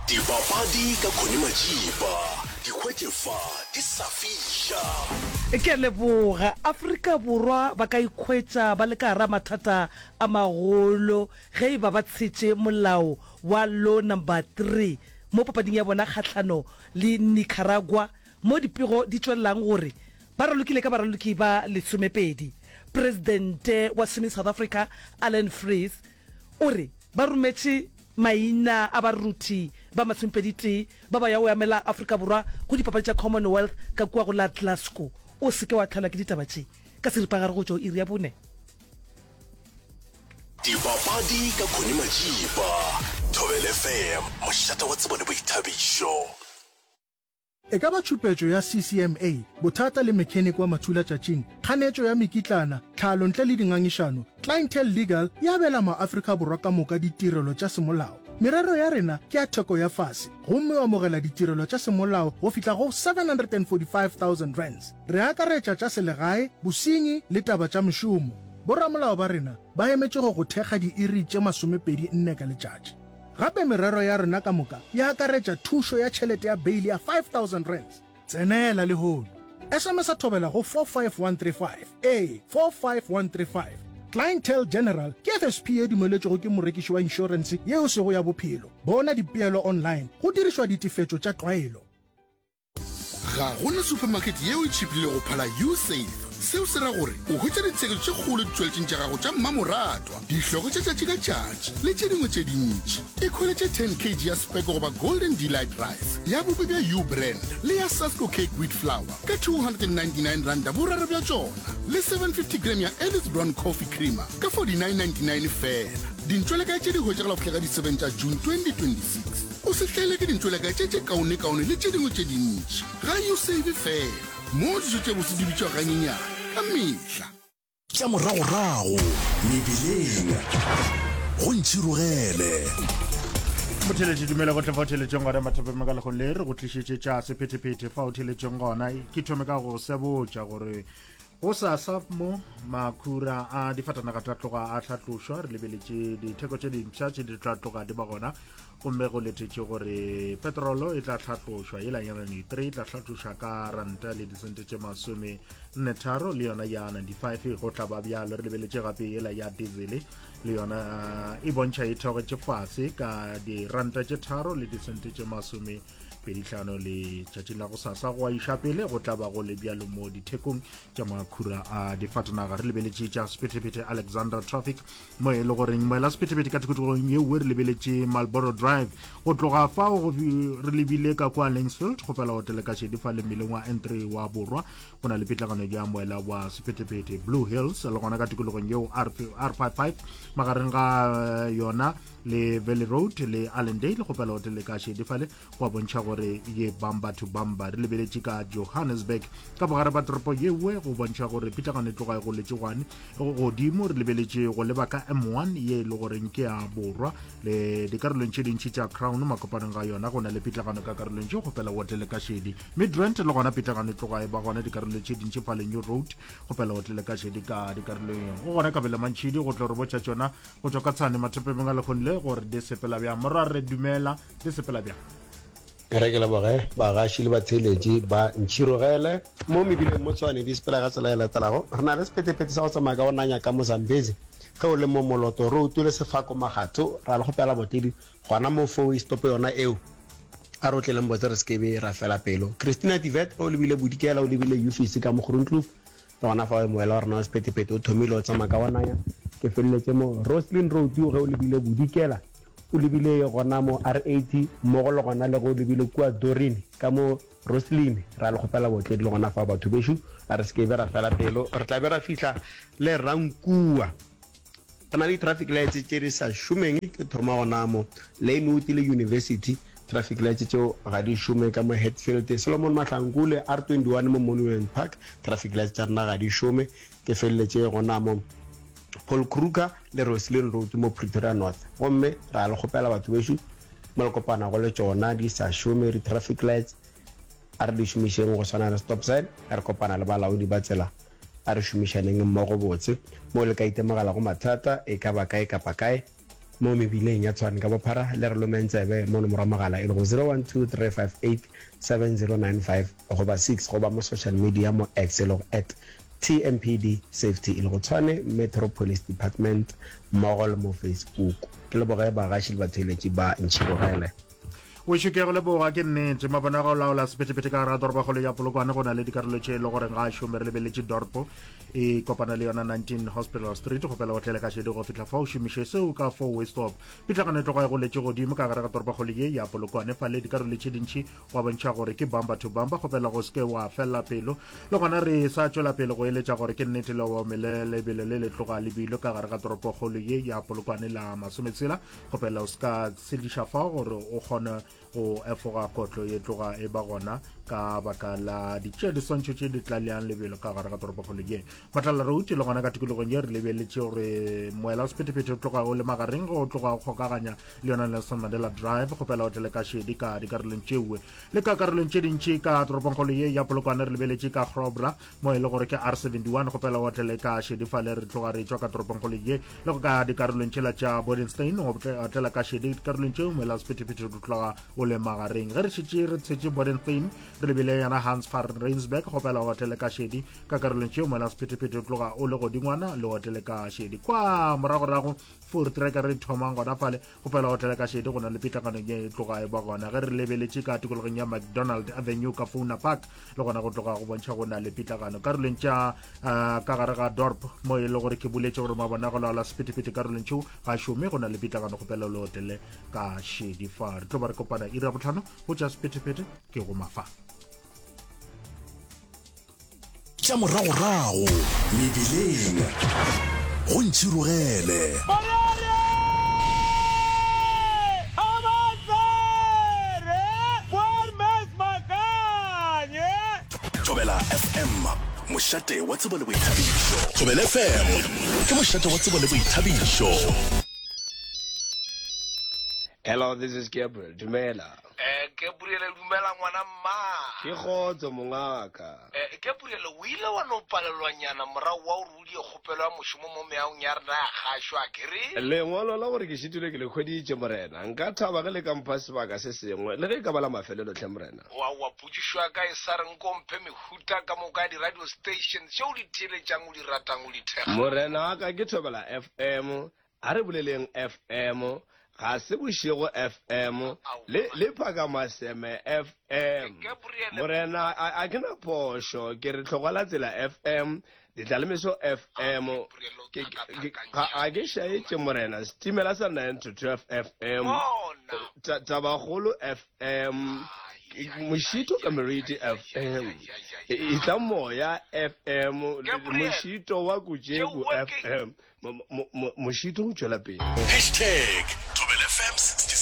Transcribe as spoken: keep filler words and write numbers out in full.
Dipapadi ka Connie Majiba, di hwetše fa di sa fiša. Ke a leboga. Afrika Borwa ba ka ikhwetša ba le ka gara mathata a magolo ge e ba ba tshetše molao wa Law Number Three mo papading ya bona kgahlano le Nicaragua mo dipego di tšwelelang gore ba ralokile ka baraloki ba lesomepedi. Presidente wa Swimming South Africa Allan Freese o re ba rometše maina a baruti ba masomepedi-tee ba ba ya go emela Afrika Borwa go dipapadi tša Commonwealth ka kua go la Glasgow. O se ke wa tlelwa ke ditaba tše ka seripagare go tšwa go iri ya bone. Dipapadi ka Connie Majiba, Thobela F M, mošate wa tsebo le boithabišo. E ka ba tšhupetšo ya C C M A, bothata le mechanic wa mathulatšatšing, kganetšo ya mekitlana, tlhalo ntle le dingangišano, Clientele Legal e abela maAfrika Borwa ka moka ditirelo tša semolao. Merero ya rena ke ya theko ya fase gomme o amogela ditirelo tša semolao go fihla go seven hundred and forty-five thousand rands. Re akaretša tša selegae, bosenyi le taba tša mešomo. Boramolao ba rena ba emetše go go thekga diiri tše masomepedi nne ka letšatši. Gape merero ya rena ka moka e akaretša thušo ya tšhelete ya beile ya five thousand rands. Tsenela lehono. S M S a Thobela go four five one three five. Ee, four five one three five. Clientele General ke F S P ye dumeletšwego ke morekiši wa inšorense yeo sego ya bophelo. Bona dipeelo online go dirišwa ditefetšo tša tlwaelo. Ga gona supermarket yeo e tšhipile go phala Usave. Seo se ra gore o hwetša ditsheketšo tše kgolo ditšweletšeng tša gago tša mmamoratwa, dihloko tša tšatši ka tšatši le tše dingwe tše dintši. Ikhweletše ten kilograms ya Speke goba Golden Delight rice ya bopi bja U Brand le ya Sasko Cake wheat flour ka two hundred and ninety-nine randa boraro bja tšona, le seven hundred and fifty gram ya Alice Brown coffee creamer ka forty-nine ninety-nine fela. Dintšwelekae tše di hwetšagala go fihla ka di seven tša June twenty twenty-six. O se hlaele ke dintšwelekae tše tše kaonekaone le tše dingwe tše dintši ga Usave fela, mo dijo tše bose di bitšwa ganyenyane ka mehla. Tša moragorago mebileng go ntšhirogele. Motheletše, dumela go tle fa o theletšeng gona mathapeng ka lekgong le re go tlišetše tša sephethephethe fa o theletšeng gona. Ke thome ka go sebotša gore go sasa mo makhura a difatanaga tla tloga a hlatlošwa. Re lebeletše ditheko tše dimpsha tše di tla tloga di ba gona, gomme go letetše gore petrolo e tla hlatlošwa, yela ya ninety-three e tla hlatlošwa ka ranta le disente tše masome nne tharo, le yona ya ninety-five go tla ba bjalo. Re lebeletše gape yela ya diesel, le yona e bontšha e theogetše fase ka diranta tše tharo le disente tše masome pedi hlano. Le tšatšing la go sasa go a iša pele go tla ba go le bjalo mo dithekong tša makhura a difatanaga. Re lebeletše tša sephethephethe Alexandra traffic, mo e le goreng moela sephethephethe ka tikologong yeo re lebeletše Marlboro Drive go tloga fao go re lebile ka kwa Langsfield go fela hotele ka šedi fa le mmeleng wa N three wa borwa go na le pitlagano ya moela wa sephethephethe. Blue Hills le gona ka tikologong yeo R fifty-five magareng ga eh, yona le Valley Road le Allendale go fela hotele ka šedi fale go a bontšha gore ye bamba to bamba. Re lebeletše ka Johannesburg ka bogare ba toropo yewe go bontšha gore pitlagano e tloga e goletše gwane godimo. Re lebeletše go leba ka M one ye e le goreng ke ya borwa le dikarolong tše dintši tša Crown makopanong ga yona go na le pitlagano ka karolong tše kgopela hotlele ka šedi. Midrand le gona pitlagano e tloga e ba gona dikarolong tše dintši fale New Road, kgopela hotlele ka šedi ka dikarolong go gona. Kabela Mantšhidi go tlo re botša tšona go tšwa ka Tshane mathopemeng a lekgong le gore di sepela bjang. Morwa re dumela, di sepela bjang? Re ke leboge bagaši le batheeletši ba ntšhirogele mo mebileng mo Tshwane. Di sepela ka tsela e latelago. Re na le sephethephethe sa go tsamaya ka go nanya ka Mozambezi ge o le mo Moloto Road le Sefako Magatho. Ra le kgopela botledi gona mo four stop yona eo, a re otleleng botse, re se ke be ra fela pelo. Christina Tivet, o lebile Bodikela, o lebile Ufisi ka Mogroenkloof, le gona fa moela wa rena wa sephethephethe o thomile o tsamaya ka go nanya. Ke feleletše mo Roslyn Road ge o lebile Bodikela, o lebile gona mo R eighty mmogo le gona le ge o lebile kua Dorin ka mo Roslyn. Ra le kgopela botledi le gona fa batho bešo, a re se ke be ra fela pelo, re tla be ra fihla le Rankua. Re na le di-traffic lights tše di sa šomeng. Ke thoma gona mo Lanewood le University, traffic lights tšeo ga di šome. Ka mo Hatfield, Solomon Mahlangu le R twenty-one mo Monument Park, traffic lights tša rena ga di šome. Ke feleletše gona mo Paul Kruger le Roslyn Road mo Pretoria North, gomme ra le kgopela batho bešo mo le kopana go le tšona di sa šome di-traffic lights, a re di šomišeng go swana le stop sign. Re kopana le balaodi ba tsela, a re šomišaneng mmogo botse. Mo le ka itemogela go mathata e ka ba kae kapa kae, mo mebileng ya Tshwane ka bophara le re lomeng tsebe mo nomoro ya mogala e lego zero one two three five eight seven zero nine five goba six goba mo social media mo X e lego at T M P D Safety e lego Tshwane Metro Police Department mmogo le mo Facebook. Ke leboge bagaši le batheeletši ba Ntšhirogele. Wešo ke a go leboga, ke nnete. Mabone a go laola sephethephethe ka gare ga toropokgolo ya Polokwane go na le dikarolo tše e le goreng ga a šome. Re lebeletše Dorpo e kopana le yona nineteen Hospital Street, kgopela o tlele ka šedi go fihla fa o šomiše seo ka four way stop. Pitlagano e tloga e goletše godimo ka gare ga toropokgolo ye ya Polokwane fa le dikarolo tše dintši gwa bontšha gore ke bumper to bumper, kgopela go se ke wa fela pelo. Le gona re sa tšwela pele go eletša gore ke nnete le obamele lebelo le le tloga lebilo ka gare ga toropokgolo ye ya Polokwane la masometshela, kgopela o se ka tshediša fao gore o kgone go efoga kotlo ye tloga e ba gona ka baka la ditšea diswantšho tše di tlaleang lebelo ka gare ga toropokgolo ye. Matlala Road le gona ka tikologong ye re lebeletše gore moela wa sephethephethe o tloga o le magareng go tloga o kgokaganya le yona Nelson Mandela Drive, kgopela o tlele ka šedi ka dikarolong tšeoe le ka karolong tše dintši ka toropongkgolo ye ya Polokwane. Re lebeletše ka Grobler mo e le gore ke R seventy one, kgopela o tlele ka šedi fale re tloga re tšwa ka toropongkgolo ye le go ka dikarolong tšela tša Bodenstein, o tlele ka šedi dikarolong tšeo moela wa sephethephethe o tloga o le magareng. Ge re šetše re tshetše Bodenstein re lebile yona Hans van Rensburg, kgopela o tlele ka šedi ka karolong tšeo moela wa sephethephethe o tloga o le godingwana le otlele ka šedi. Kwa moragorago Voortrekker re thomang gona fale, kgopela o tlele ka šedi go na le pitlagano ye e tloga e ba gona. Ge re lebeletše ka tikologong ya McDonald Avenue ka Fauna Park le gona go tloga go bontšha go na le pitlagano. Karolong tša uh, ka gare ga Dorp mo e le gore ke boletše gore mabona go laola sephethephethe karolong tšeo ga šome, go na le pitlagano, kgopela le otlele ka šedi fa. Re tlo ba re kopana iri ya botlhano go tša sephethephethe ke go mafa. Tša moragorago mebileng go Ntšhirogele. Thobela F M, mošate wa tsebo le boithabišo. Thobela F M ke mošate wa tsebo le boithabišo. Hello, this is Gabriel. Dumela. Eh, Gabriel, dumela ngwana mma. Ke kgotso mongaka. Eh, Gabriel, o ile wa no palelwanyana morago wa gore o die kgopelo ya mošomo mo meagong ya rena ya kgašo, a ke re? Lengwalo la gore ke šitilwe ke le hweditše, morena. Nka thaba ge le ka mpha sebaka se sengwe, le ge e ka ba la mafelelo hle, morena. Oaowa, potšišo ya ka e sa re nko mphe mehuta ka moka ya di-radio station tše o di theeletšang, o di ratang, o di thekgang. Morena wa ka, ke Thobela F M, a re boleleng F M, ga se bošego F M, le, le Phakamaseme F M. Morena, a, a ke na phošo, ke re Tlhogwa Tsela F M, Ditlalemeso F M, ke, ke, ga, ga ke šaetše morena, setimela sa nine to twelve F M, ta, Tabakgolo F M, Mošito ka Meriti F M, Itla Moya F M, Mošito wa Kutšeku F M, Mošito o tšwela pele. Hashtag Thobela F M sixty